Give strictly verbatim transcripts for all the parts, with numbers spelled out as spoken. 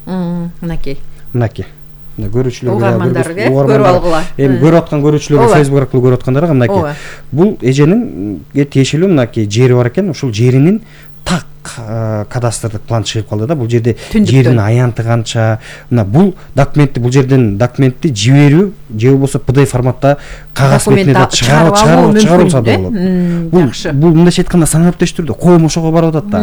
Мынакей. Мынакей. Мына көрүүчүлөр угармандарга көрүп алгыла. Эми көрүп аткан көрүүчүлөр Facebook аркылуу көрүп аткандарга мынакей. Бул эженин тиешелүү мынакей жери бар экен. Ушул жеринин так кадастрдык план чыгып калды да. Бул жерде жердин аянты канча, мына бул документти бул жерден документти жиберүү же болбосо P D F форматта кагаз бетинде чыгарып чыгарылса да болот. Бул бул мындайча айтканда санаптеш түрдө коом ошого барып атат да.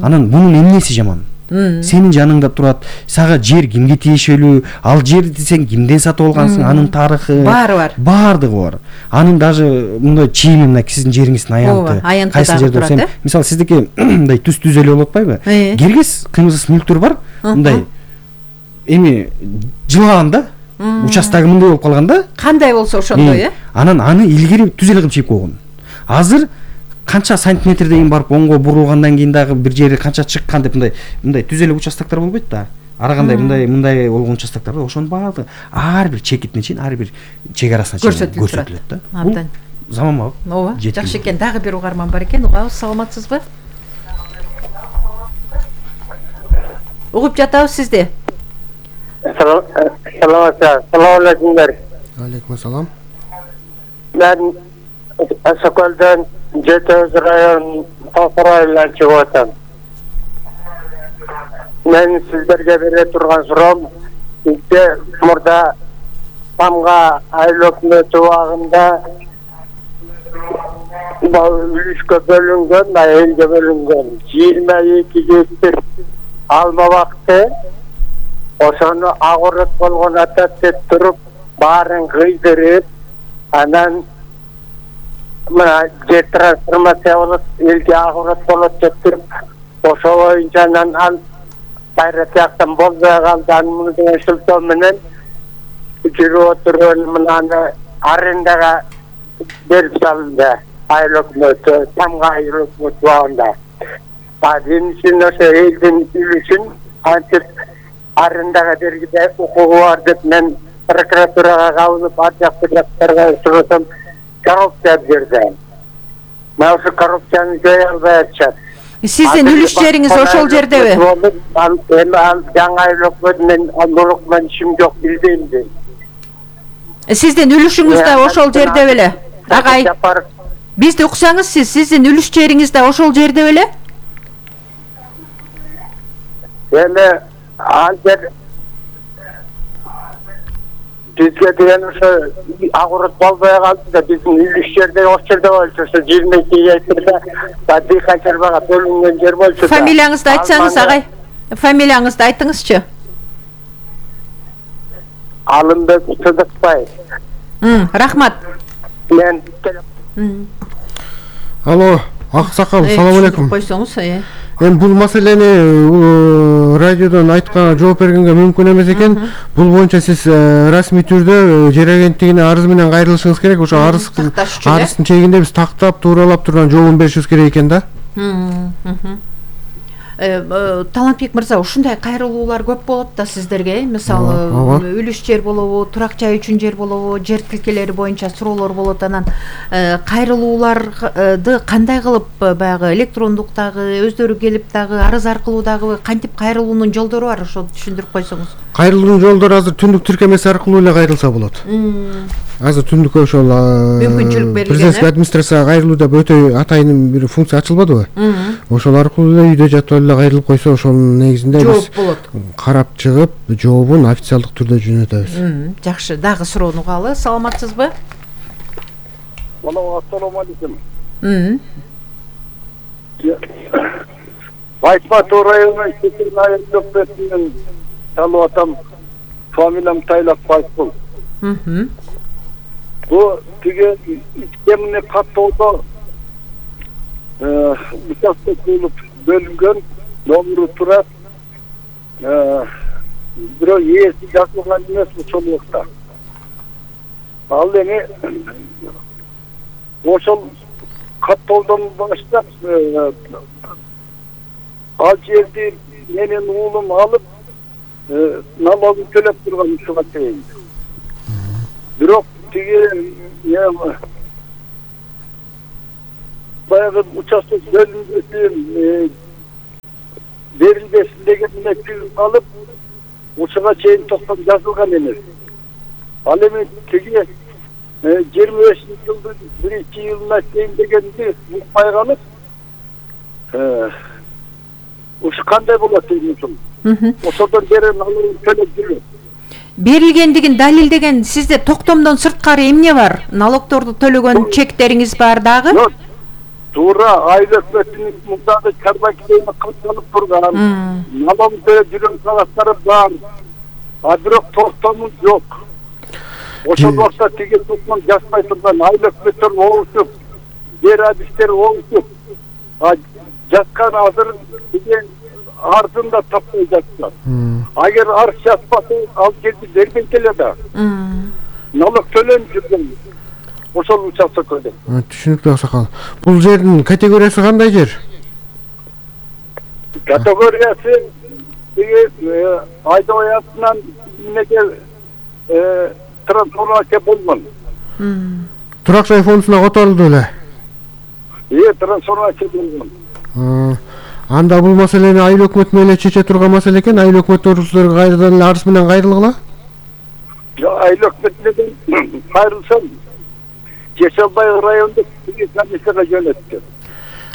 Анан бунун эмнеси жаман? Сенин жаныңда турат, сага жер кимге тиешелүү, ал жерди сен кимден сатып алгансың, анын тарыхы баары бар. Баардыгы бар. Анын даже мындай чийими мына сиздин жериңиздин аянты. Кайсы жерде турат? Мисалы сиздики мындай түз түз эле болуп атпайбы? Киргиз кыймылсыз мүлктөр бар. Мындай эми жылганда участогу мындай болуп калганда, кандай болсо ошондой, э? Анан аны илгери түз эле кылып чийип койгон. Азыр канча сантиметрден барып оңго бурулгандан кийин дагы бир жери канча чыккан деп мындай мындай түз эле участоктор болбойт да. Ар кандай мындай мындай болгон участоктор ошонун баардыгы ар бир чекитине чейин, ар бир чек арасына чейин көрсөтүлөт да. Абдан заманбап. Ооба, жакшы экен. Дагы бир угарман бар экен. Угабыз, саламатсызбы? Угуп жатабыз сизди. Саламатсызбы. Салам алейкумдар. Алейкум салам. Мен Соколдон Жетөз район Токурайлан чыгып атам. Мен сиздерге бере турган суроом, бизде мурда Тамга айыл өкмөтү убагында үлүшкө бөлүнгөн, элге бөлүнгөн жыйырма эки гектар алма бакты, ошону агорот болгон атат деп туруп, баарын кыйдырып, анан мына жер трансформация болот, элге агорот болот деп туруп, ошо боюнча анан кайра тияктан болбой калды, анын деген шылтоо менен жүрүп отуруп мынаны арендага берип салынды айыл өкмөтү, Тамга айыл өкмөтү убагында. Биринчиден ошо элдин үлүшүн антип арендага бергиде укугу бар деп мен прокуратурага кабылып, ар жакты жактарга сурасам, коррупция берди. Мына ошо коррупцияны жое албай атышат. Сиздин үлүш жериңиз ошол жердеби? Эми ал жаңы айыл өкмөт менен анылык менен ишим жок, билбейм дейм. Сиздин үлүшүңүз да ошол жерде беле? Агай, бизди уксаңыз сиз, сиздин үлүш жериңиз да ошол жерде беле? Эми ал жер бизге деген ошо агорот болбой калды да, биздин үлүш жерде ошол жерде болчу, ошо жыйырма эки гектарда дыйкан чарбага бөлүнгөн жер болчу. Фамилияңызды айтсаңыз, агай. Фамилияңызды айтыңызчы. Алымбек Сыдыкбаев. Рахмат. Мен Алло, аксакал, салам алейкум. Койсоңуз, э. Эми бул маселени радиодон айтканга жооп бергенге мүмкүн эмес экен. Бул боюнча сиз расмий түрдө жер агенттигине арыз менен кайрылышыңыз керек. Ошо арыздын арыздын чегинде биз тактап, тууралап турган жообун беришибиз керек экен да. Талантбек мырза, ушундай кайрылуулар көп болот да сиздерге. Мисалы, үлүш жер болобу, турак жай үчүн жер болобу, жер тилкелери боюнча суроолор болот. Анан кайрылууларды кандай кылып баягы электрондук дагы, өздөрү келип дагы, арыз аркылуу дагы кантип кайрылуунун жолдору бар, ошо түшүндүрүп койсоңуз. Кайрылуунун жолдору азыр түндүк тиркемеси аркылуу эле кайрылса болот. Азыр түндүк ошол мүмкүнчүлүк берилген. Президенттик администрацияга кайрылуу деп өтө атайын бир функция ачылбадыбы? Ошол аркылуу эле үйдө жатып эле кайрылып койсо, ошонун негизинде биз карап чыгып, жообун официалдык түрдө жөнөтөбүз. Жакшы, дагы суроону угалы. Саламатсызбы? Ассалому алейкум. Байсматов районунун Секирин айыл өкмөтүнөн чалып атам. Фамилиям Тайлак Байсбул. Бу тиги ичкемине каттоодо участок болуп бөлүнгөн, номеру турат. Бирок ээси жазылган эмес ошол убакта. Ал эми ошол каттоодон баштап ал жерди менин уулум алып налогун төлөп турган ушуга чейин. Бирок тиги баягы участок бөлүнгөсүн берилбесин деген мектебин алып, ушуга чейин токтом жазылган эмес. Ал эми тиги жыйырма бешинчи жылдын биринчи июлуна чейин дегенди укпай калып, ушу кандай болот дейм ушул. Ошодон бери налогун төлөп жүрөт. Берилгендигин далилдеген сизде токтомдон сырткары эмне бар? Налогторду төлөгөн чектериңиз бар дагы? Туура айыл өкмөтүнүн мундагы карбакилени кылып турган, налог төлөп жүргөн кагазтары бар. А бирок токтомун жок. Ошондо тиги токтом жазбай турган айыл өкмөттөр болушуп, жер адистер болушуп, жазган азыр деген арзын да таппай жатышат. Агер арыз жазбаса, ал жерди бербейт эле да. Налог төлөнүп жүргөн. Ошол участоккө. Түшүнүктүү аксакал. Бул жердин категориясы кандай жер? Категориясы айдоятынан эмнеге трансформация болгон. Турак жай фондуна которулду эле. Э, трансформация болгон. Анда бул маселени айыл өкмөтү менен эле чече турган маселе экен. Айыл өкмөттөр силерге кайрадан эле арыз менен кайрылгыла? Жок, айыл өкмөтү менен кайрылсам, Жешалбай райондук комиссияга жөнөттү.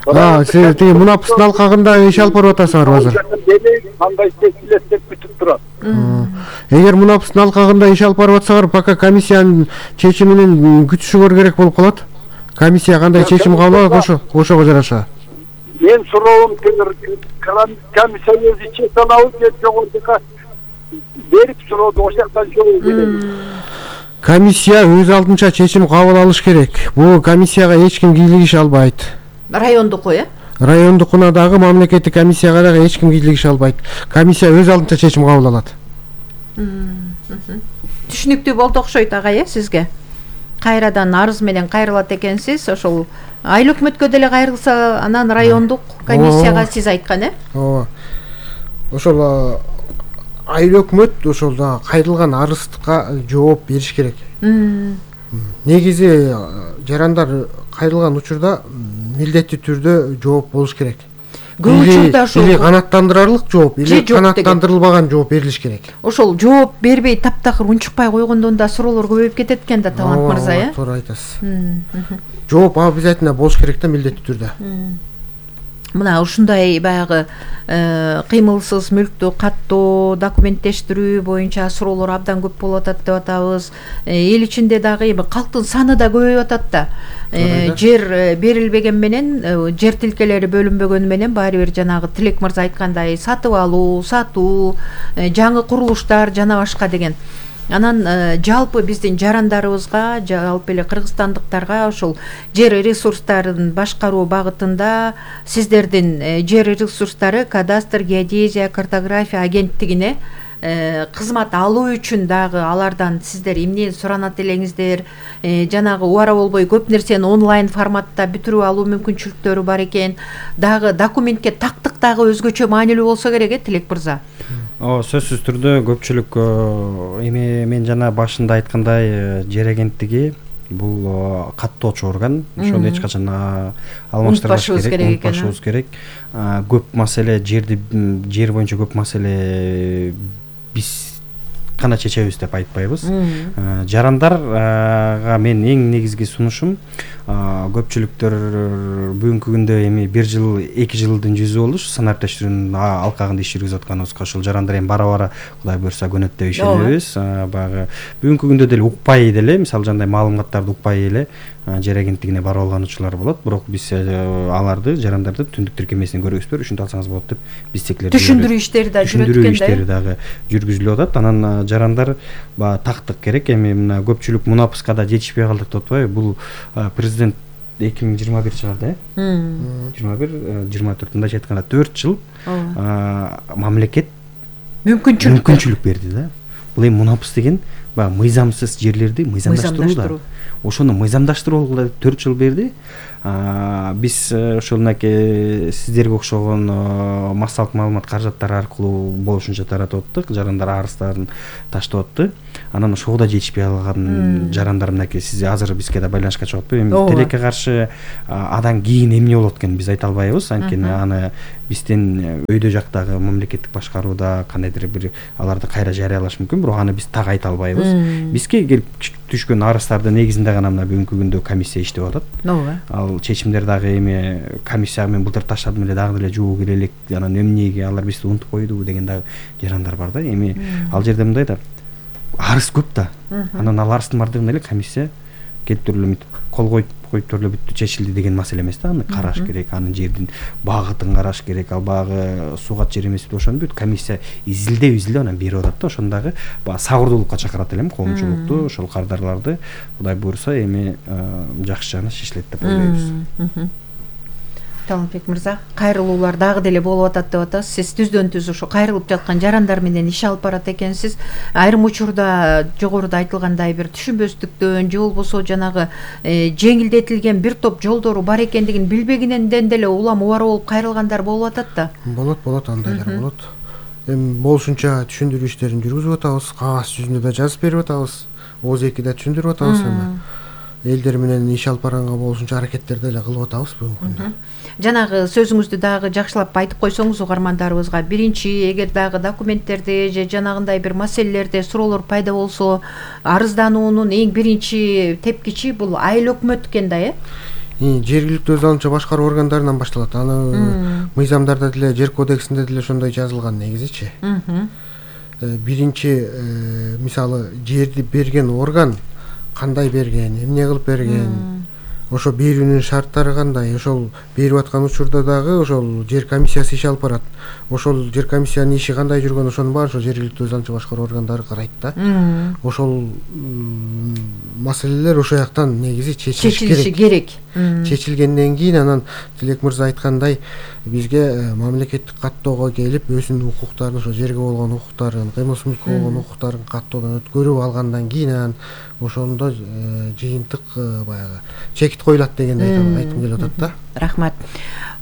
А, сиз тиги Мунапыстын алкагында иш алып барып атасызбы азыр? Кандай чечилет деп күтүп турат. Эгер Мунапыстын алкагында иш алып барып атсаңар, пока комиссиянын чечиминин күтүшүңөр керек болуп калат. Комиссия кандай чечим кабыл алат, ошо ошого жараша. Мен суроом, комиссия өзү чече алабы же жогорудука берип суроону ошол жактан жолу беребиз. Комиссия өз алдынча чечим кабыл алыш керек. Бул комиссияга эч ким кийлигише албайт. Райондуку, э? Райондукуна дагы, мамлекеттик комиссияга дагы эч ким кийлигише албайт. Комиссия өз алдынча чечим кабыл алат. Түшүнүктүү болду окшойт агай, э, сизге? Кайрадан арыз менен кайрылат экенсиз, ошол айыл өкмөткө деле кайрылса, анан райондук комиссияга сиз айткан, э? Ооба. Ошол айыл өкмөт ошол да кайрылган арыздыкка жооп бериш керек. Негизи жарандар кайрылган учурда милдеттүү түрдө жооп болуш керек. Көп учурда ошол или канааттандырарлык жооп, или канааттандырылбаган жооп берилиш керек. Ошол жооп бербей таптакыр унчукпай койгондон да суроолор көбөйүп кетет экен да, Талант мырза, э? Туура айтасыз. Жооп обязательно болуш керек да, милдеттүү түрдө. Мына ушундай баягы кыймылсыз мүлктү каттоо, документтештирүү боюнча суроолор абдан көп болуп атат деп атабыз. Эл ичинде дагы эми калктын саны да көбөйүп атат да. Жер берилбеген менен, жер тилкелери бөлүнбөгөнү менен баары бир жанагы Тилек мырза айткандай сатып алуу, сатуу, жаңы курулуштар жана башка деген. Анан жалпы биздин жарандарыбызга, жалпы эле кыргызстандыктарга ошол жер ресурстарын башкаруу багытында сиздердин жер ресурстары кадастр, геодезия, картография агенттигине кызмат алуу үчүн дагы алардан сиздер эмне суранат элеңиздер, жанагы убара болбой көп нерсени онлайн форматта бүтүрүп алуу мүмкүнчүлүктөрү бар экен. Дагы документке тактык дагы өзгөчө маанилүү болсо керек, э, Тилек мырза? О, сөзсүз түрдө көпчүлүк эми мен жана башында айткандай жер агенттиги бул каттоочу орган, ошону эч качан алмаштырбаш керек, унутпашыбыз керек. Көп маселе жерди жер боюнча көп маселе биз гана чечебиз деп айтпайбыз. Жарандарга мен эң негизги сунушум, көпчүлүктөр бүгүнкү күндө эми бир жыл, эки жылдын жүзү болду санап тештирүүнүн алкагында иш жүргүзүп атканыбызга. Ошол жарандар эми бара-бара Кудай буйрса көнөт деп ишенебиз. Баягы бүгүнкү күндө деле укпай деле, мисалы жандай маалыматтарды укпай эле жер агенттигине барып алган учурлар болот. Бирок биз аларды, жарандарды түндүк тиркемесинен көрөбүзбү, ушинтип алсаңыз болот деп биз текилер. Түшүндүрүү иштери да жүрөт экен да. Түшүндүрүү иштери дагы жүргүзүлүп атат. Анан жарандар баягы тактык керек. Эми мына көпчүлүк Мунапыска да жетишпей калдык деп атпайбы? Бул президент эки миң жыйырма бир чыгарды, э? жыйырма бир, жыйырма төрт мындайча айтканда төрт жыл мамлекет мүмкүнчүлүк мүмкүнчүлүк берди да. Бул эми Мунапыс деген баягы мыйзамсыз жерлерди мыйзамдаштыруу да. Ошону мыйзамдаштырууга төрт жыл берди. Биз ошол мынакей сиздерге окшогон массалык маалымат каражаттары аркылуу болушунча таратып аттык, жарандар арыздарын таштап атты. Анан ошого да жетишпей калган жарандар мынакей сиз азыр бизге да байланышка чыгып атпайбы? Эми тилекке каршы адан кийин эмне болот экенин биз айта албайбыз. Анткени аны бизден өйдө жактагы мамлекеттик башкарууда кандайдыр бир аларды кайра жарыялаш мүмкүн, бирок аны биз так айта албайбыз. Бизге келип түшкөн арыздардын негизинде гана мына бүгүнкү күндө комиссия иштеп атат. Ооба. Ал чечимдер дагы эми комиссия мен былтыр таштадым эле дагы деле жууу керек элек, анан эмнеге алар бизди унутуп койду деген дагы жарандар бар да. Эми ал жерде мындай да, арыз көп да. Анан ал арыздын бардыгын эле комиссия келип туруп эле кол коюп коюп туруп эле бүттү, чечилди деген маселе эмес да. Аны караш керек, анын жердин багытын караш керек. Ал багы суугат жер эмес деп ошону бүт комиссия изилдеп изилдеп анан берип атат да. Ошону дагы баягы сабырдуулукка чакырат элем коомчулукту, ошол кардарларды. Кудай буйруса эми жакшы жагына шешилет деп ойлойбуз. Талантбек мырза, кайрылуулар дагы деле болуп атат деп атасыз. Сиз түздөн түз ошо кайрылып жаткан жарандар менен иш алып барат экенсиз. Айрым учурда жогоруда айтылгандай бир түшүнбөстүктөн же болбосо жанагы жеңилдетилген бир топ жолдору бар экендигин билбегенен деле улам убара болуп кайрылгандар болуп атат да. Болот, болот, андайлар болот. Эми болушунча түшүндүрүү иштерин жүргүзүп атабыз, кагаз жүзүндө да жазып берип атабыз, ооз эки да түшүндүрүп атабыз. Эми элдер менен иш алып барганга болушунча аракеттерди эле кылып атабыз бүгүнкү күндө. Жанагы сөзүңүздү дагы жакшылап айтып койсоңуз угармандарыбызга, биринчи эгер дагы документтерде же жанагындай бир маселелерде суроолор пайда болсо, арыздануунун эң биринчи тепкичи бул айыл өкмөт экен да, э? Жергиликтүү өз алуучу башкаруу органдарынан башталат. Аны мыйзамдарда деле, жер кодексинде деле ошондой жазылган негизичи. Биринчи мисалы жерди берген орган кандай берген, эмне кылып берген, ошо берүүнүн шарттары кандай, ошол берип аткан учурда дагы ошол жер комиссиясы иш алып барат. Ошол жер комиссиянын иши кандай жүргөн, ошонун баарын ошо жергиликтүү өз алуучу башкаруу органдары карайт да. Ошол маселелер ошо жактан негизи чечилиши керек. Чечилгенден кийин анан Тилек мырза айткандай бизге мамлекеттик каттоого келип өзүнүн укуктарын, ошо жерге болгон укуктарын, кыймылсыз мүлккө болгон укуктарын каттоодон өткөрүп алгандан кийин анан ошондо жыйынтык баягы чекит коюлат дегенди айткым келип атат да. Рахмат.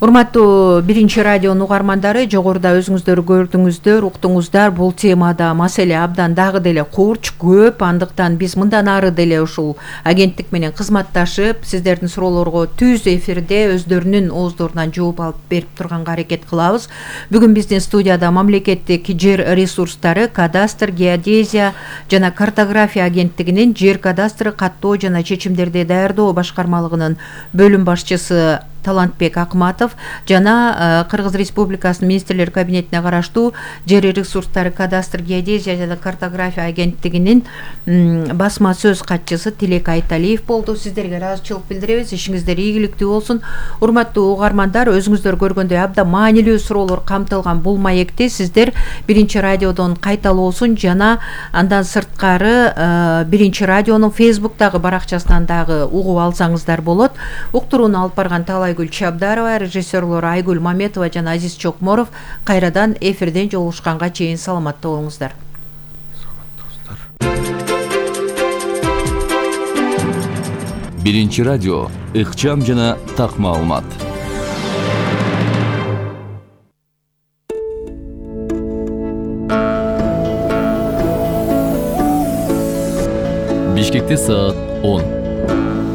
Урматтуу биринчи радионун угармандары, жогоруда өзүңүздөр көрдүңүздөр, уктуңуздар, бул темада маселе абдан дагы деле курч, көп. Андыктан биз мындан ары деле ушул агенттик менен кызматташып, сиздердин суроолорго түз эфирде өздөрүнүн ооздорунан жооп алып берип турганга аракет кылабыз. Бүгүн биздин студияда мамлекеттик жер ресурстары, кадастр, геодезия жана картография агенттигинин жер кадастры, каттоо жана чечимдерди даярдоо башкармалыгынын бөлүм башчысы Талантбек Акматов жана Кыргыз Республикасынын министрлер кабинетине караштуу жер ресурстары, кадастр, геодезия жана картография агенттигинин басма сөз катчысы Тилек Айталиев болду. Сиздерге ыраазычылык билдиребиз. Ишиңиздер ийгиликтүү болсун. Урматтуу угармандар, өзүңүздөр көргөндөй абдан маанилүү суроолор камтылган бул маекти сиздер биринчи радиодон кайталоосун жана андан сырткары биринчи радионун Facebook'тагы баракчасынан дагы угуп алсаңыздар болот. Уктурууну алып барган Талай Гүл Чабдарова, режиссерлор Айгүл Маметова жана Азиз Чокморов кайрадан эфирден жолугушканга чейин саламатта болуңуздар. Биринчи радио, ыкчам жана так маалымат. Бишкекте саат он.